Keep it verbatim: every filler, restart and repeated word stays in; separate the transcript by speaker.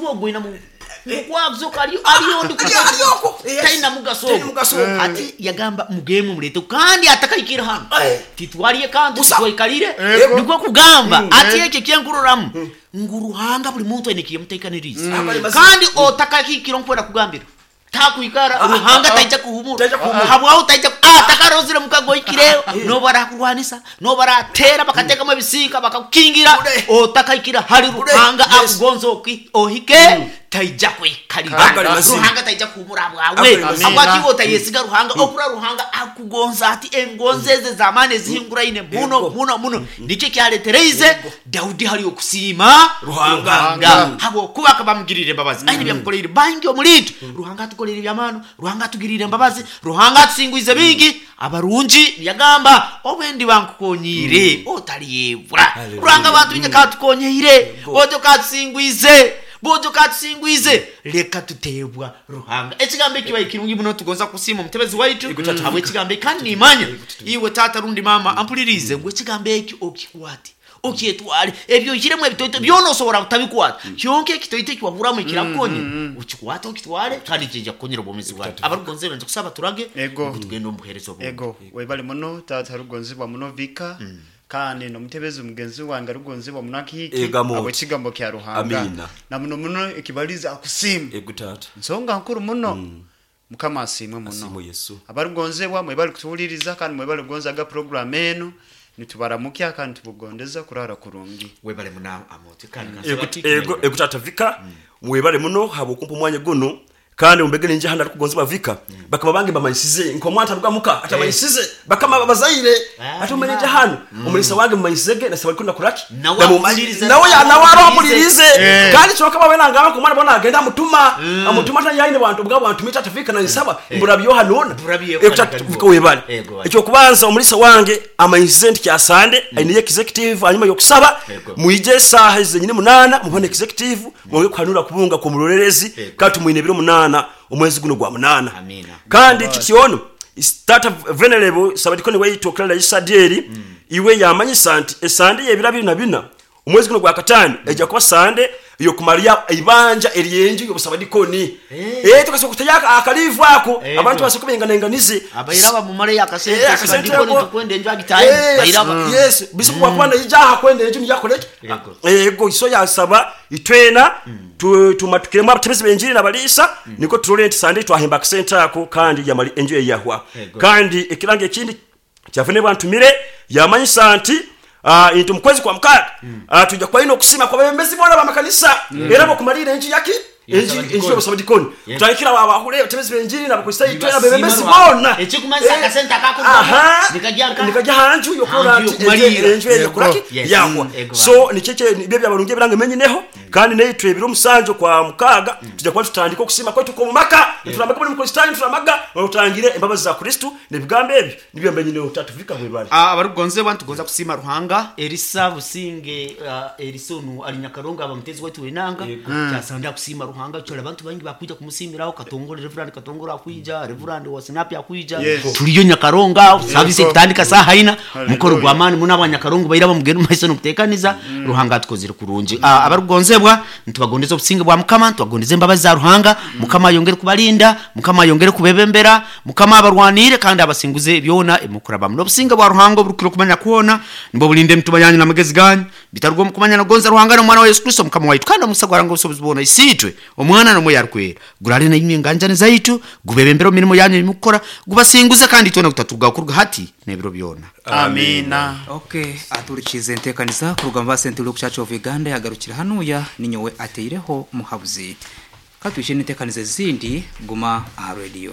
Speaker 1: Ogwina mukwakuzoka aliyo aliyo ndi
Speaker 2: Ali- ali okwo. Yes.
Speaker 1: Talina mugaso.
Speaker 2: Talina mugaso ogwo.
Speaker 1: Ati yagamba, mugemu mulete, kandi atakayikira hano
Speaker 2: Eh.
Speaker 1: titwaliye kantu.
Speaker 2: Busa.
Speaker 1: Titwaikalire.
Speaker 3: Ego.
Speaker 1: Nikwo kugamba ati ekyo kyenkuroramu ngu Ruhanga buli muntu aine kiyemuteekaniriize.
Speaker 2: Akali mazima.
Speaker 1: Kandi otakakikira nkwera kugambira takwikara, Ruhanga taija kuhumura.
Speaker 2: Taija kuhumura.
Speaker 1: Habwaho taija atakarozire mukagoikireyo nobarakurwanisa, nobaratera bakateekamu ebisiika bakakukingira.
Speaker 2: Bule.
Speaker 1: Otakaikira hali
Speaker 2: Bule.
Speaker 1: Ruhanga
Speaker 2: Yes.
Speaker 1: akugonza oki- ohike, taija kwikalira.
Speaker 2: Akali mazima.
Speaker 1: Ruhanga taija kuhumura bwawe.
Speaker 2: Akali mazima.
Speaker 1: Habwaki otayesiga Ruhanga? Okura Ruhanga akugonza ati engonzi eze zamaani ezihinguraine muno
Speaker 2: Ego.
Speaker 1: muno muno, nikyo kyaletereize Daudi hali okusiima
Speaker 2: Ruhanga.
Speaker 1: Ruhanga habwokuba akaba amugirire embabazi, aine byamukoleire bangi omuliitwe. Ruhanga atukoleire ebyamaano, Ruhanga atugirire embabazi, Ruhanga atusingwize bingi abarungi. Yagamba, obwendi bankukonyiire otaliyebwa. Ruhanga bantu katukonyeire, ojo katusingwize, bojo katusingwize, leka tutebwa Ruhanga. Ekigambo ekibaye kirungi muno. Tugonza kusiima omutebezi waitu habwe ekigambo eki, kandi nimanya iwe taata rundi mama ampulirize ngu ekigambo eki okikwate, okyetwale. Ebyo okiremu ebitoito byona osobola kutabikwata, kyonka ekitoito ekiwahuramu ekirakukonya okikwate, okitwale, kandi kijja kukonyera obwomezi bwawe. Abarugonze benze kusaba turage.
Speaker 3: Ego.
Speaker 1: Ngu tugende omu buheereza obundi.
Speaker 3: Ego, webale muno tata rugonzibwa muno Vika, kandi nomutebezi mugenzi wange rugonzibwa muno Akihiki.
Speaker 2: Ego, Amoti.
Speaker 3: Abo ekigambo kya Ruhanga
Speaker 2: Amina.
Speaker 3: na muno muno ekibaliza akusiima.
Speaker 2: Ego tata.
Speaker 3: Nsonga nkuru muno. Mukama asiimwe muno.
Speaker 2: Asiimwe Yesu.
Speaker 3: Abarugonzebwa mwebale kutuwuliriza, kandi mwebale kugonzaga program enu. Nitubaramukya kandi tubugondeza kurara kurungi.
Speaker 1: Webale muna Amoti, kandi
Speaker 2: Ego-
Speaker 1: kansaba tiki.
Speaker 2: Ego, ego tata Vika, mwebale muno habwokumpa omwanya guno, kandi mumbegere nje hano arikugonzibwa Vika. Bakama bange bamanyisize nkomwana ataruga muka atamanyisize bakama bazaire.
Speaker 1: Ah,
Speaker 2: Ate umanye nje hano omulisa wange mumanyisizege nasaba arikunda kuraki.
Speaker 1: Nawe
Speaker 2: Namumanyi-
Speaker 1: ampulirize.
Speaker 2: Nawe ya- nawe aro ampulirize.
Speaker 3: Eh.
Speaker 2: Kandi kyoka bawe nangamba kumwana bona agenda amutuma amutuma ata yaine bantu bwa bantu mita tafika na nsaba mburabyo hanona.
Speaker 1: Mburabyo.
Speaker 2: Ego tata Vika, webale.
Speaker 1: Ego, webale.
Speaker 2: Ekyokubanza, omulisa wange amanyisize nti kyasande aine executive hanyuma yokusaba.
Speaker 1: Ego.
Speaker 2: Mwije esaaha zenyini munana mubone executive, mwonge kuhanura kubunga ku mulorerezi.
Speaker 1: Ego.
Speaker 2: Kandi tumwine ebiro munana omwezi guno gwa munana.
Speaker 1: Amina.
Speaker 2: Kandi kikyono tata venerable sabadikoni waitu okulala Isadieri iwe yamanyisa nti esande y'ebiro abiri na bina omwezi guno gwa katano ejja kuba sande yokumalya ibanja eryenju y'obusabadikoni. Eh, tukasobola kutaya akalivu ako.
Speaker 1: Ego.
Speaker 2: Abantu basobola kubenganenganize.
Speaker 1: Abairaba mumale akasente.
Speaker 2: Eh, akasente
Speaker 1: Sadikoni
Speaker 2: ako.
Speaker 1: tukwenda enju agitaye
Speaker 2: Yes,
Speaker 1: bairaba.
Speaker 2: yes, bisobola kuba naijaha kwenda enju niyakoleki.
Speaker 1: Yego.
Speaker 2: Ego, iso yasaba itwena tu- tumatukiremu abatebezi benjiri nabaliisa, niko turole nti sande twahemba akasente ako kandi yamali enju eyahwa.
Speaker 1: Yego.
Speaker 2: Kandi ekirango ekindi kyavune bwantumire yamanyisa nti ah, nti omukwezi kwa mukaaga ah, tujja kuba ine okusima kwa babembezi boona bamakanisa era bokumalira enju yaki enju enju y'obusabadikoni, tutandikira abahule abatebezi benjiri n'abakristaayo itwena abebembezi boona.
Speaker 1: Ekikumanyisa
Speaker 2: Eh,
Speaker 1: akasente akakurugamu
Speaker 2: aha,
Speaker 1: nikajya nka-
Speaker 2: nikajya hanju yokurora
Speaker 1: Hanju
Speaker 2: nti
Speaker 1: yokumalira.
Speaker 2: enju eyo yakoraki.
Speaker 1: Yes.
Speaker 2: Yahwa.
Speaker 1: Ego.
Speaker 2: So nikyo nibyo byabarungi ebiranga emenyineho, kandi neitwe ebiro omusanju kwa mukaaga tujja kuba tutandika okusima kwaitu kw'omumaka, nitulamaga buli mukristaayo, nitulamaga otangire embabazi za Kristu n'ebigambo ebyo nibyo mbenyineho. Tatuvika, bwebale.
Speaker 1: Ah, abarugonzebwa ntugonza kusiima Ruhanga. Erisa Businge, uh, Erisa onu ali Nyakarongo, aba mutezi waitu wenanga kyasanda kusiima Ruhanga kyora abantu bangi bakwija kumusiimiraho. Katongole, Reverend Katongole akwija, Reverend wa Sinapi akwija.
Speaker 3: Yes.
Speaker 1: Tuliyo Nyakaronga, service ekutandika saha ina.
Speaker 3: Hallelujah.
Speaker 1: Mukoro gw'amaani muno, abanyakarongo baira bamugenda mumaiso nokuteekaniza. Ruhanga atukozire kurungi. Ah, abarugonzebwa ntubagondeza obusinge bwa Mukama, ntubagondeza embabazi za Ruhanga. Mukama ayongere kubalinda, Mukama ayongere kubebembera, Mukama abarwanire kandi abasinguze byona emukurabamu. N'obusinge bwa Ruhanga oburukira okumanya kwona nibwo bulinde emitima yanyu n'amagezi ganyu bitarugwa omu kumanya nogonza Ruhanga n'omwana wa Yesu Kristo Mukama waitu. Kandi omukisa gwa Ruhanga obusobozi bwona, Isiitwe, Omwana n'Omwoyo Arukwera gurale naimwe enganjani zaitu, gubebembere omu mirimo yanyu emukukora, gubasinguze, kandi itwena gutaturugaho kuruga hati n'ebiro byona.
Speaker 3: Amina.
Speaker 4: Okay, aturikize enteekaniza kurugamba Central Rock Church of Uganda yagarukira hanuya. Ninyowe ateireho muhabuzi katwishe n'enteekaniza ezindi. Guma aha radio.